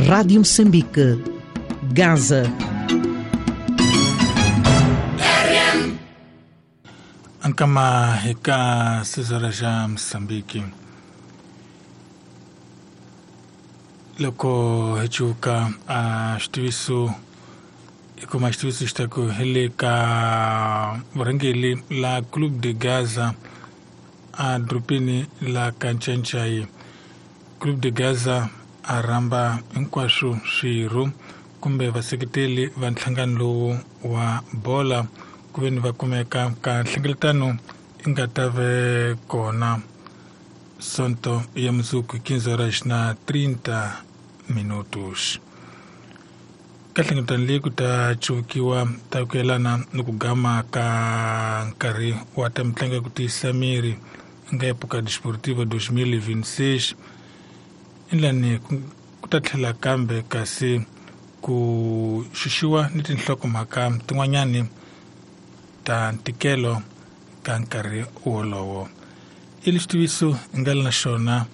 Rádio Moçambique, Gaza. Ankama heka 6 ja Moçambique. Loko hichuka a xitiviso ikuma xitiviso xi ta ku hi le ka vurhangeri la Clube de Gaza a dorobeni la Kanchanchai. Clube de Gaza a rhamba hinkwaswo swirho kumbe vaseketeli va nhlangano lowu wa bola ku ve ni va kumeka ka nhlengeletano yi nga ta ve kona Sonto ya mundzuku 15 horas na 30 minutos. Ka nhlengeletano leyi ku ta cuvukiwa ta ku yelana ni ku gama ka nkarhi wa ta mitlangu ya ku tiyisa miri nga época desportiva 2026 endlani ku ta tlhela kambe kasi ku xuxiwa ni tinhlokomhaka tin'wanyani ta ntikelo ka nkarhi wolowo. I lexitiviso hi nga le na xona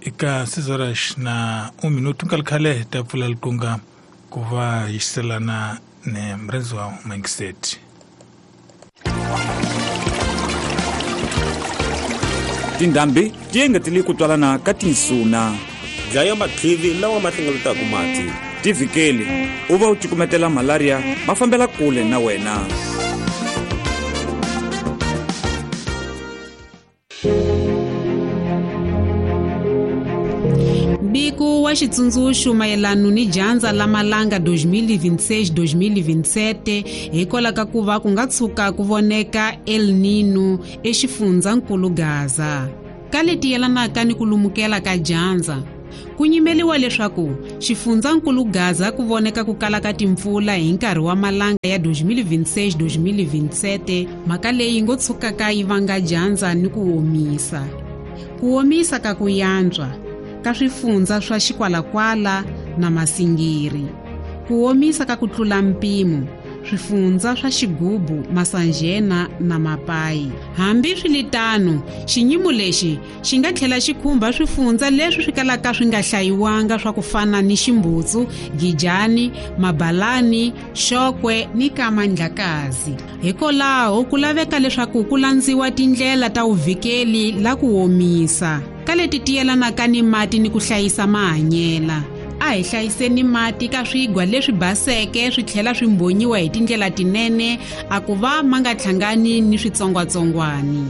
eka 6 horas na 1 minuto nkarhi khale hi ta pfula likunga ku va hi xiselana ni murhendziwa Mangiseti. Tindhambi ti engetele ku twalana ka tinsuna. Dlaya matlivi lawa ma hlengeletaka mati. Tivhikeli u va u cukumetela malaria ma fambela kule na wena. Mbiko wa xitsundzuxo mayelana ni dyandza la malanga 2026-2027 hikwalaho ka ku va ku nga tshuka ku voneka El Nino exifundzankulu Gaza. Ka leti yelanaka ni ku lumukela ka dyandza, ku nyimeliwa leswaku xifundzankulu Gaza ku voneka ku kala ka timpfula hi nkarhi wa malanga ya 2026-2027, mhaka leyi ngo tshukaka yi vanga dyandza ni ku omisa. Ku omisa ka ku yantswa ka swifundza swa Xikwalakwala na Masingiri. Ku omisa ka ku tlula mpimo swifundza swa Xigubu, Masanjena na Mapayi. Hambi swiritano, xinyimo lexi xi nga tlhela xi khumba swifundza leswi swi kalaka swi nga hlayiwanga swa ku fana ni Ximbutsu, Gijani, Mabalani, Xokwe ni Kamandlakazi. Hikwalaho ku laveka leswaku ku landziwa tindlela ta vuvikeli la ku omisa ka leti ti yelanaka ni mati ni ku hlayisa mahanyela. A hi hlayiseni mati ka swigwa leswi baseke swi tlhela swi mbhonyiwa hi tindlela tinene a ku va ma nga hlangani ni switsongwatsongwani.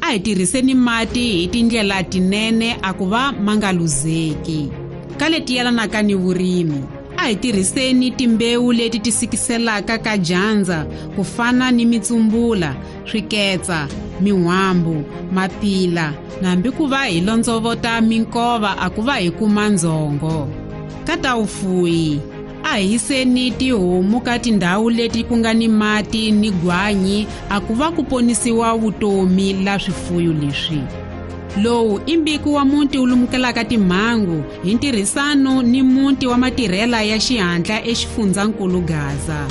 A hi tirhiseni mati hi tindlela tinene a ku va ma nga luzeki. Ka leti yelanaka ni vurimi, a hi tirhiseni timbewu leti ti sikiselaka ka dyandza ku fana ni mitsumbula, swiketsa, min'wambu, mapila, hambi ku va hi londzovota minkova a ku va hi kuma ndzhongo. Ka ta vufuwi, a hi yiseni tihomu ka tindhawu leti ku nga ni mati ni gwanyi a ku va ku ponisiwa vutomi la swifuyo leswi. Lowu i mbiko wa muti wu lumukelaka timhangu hi ntirhisano ni muti wa matirhela ya xihatla exifundzankulu Gaza.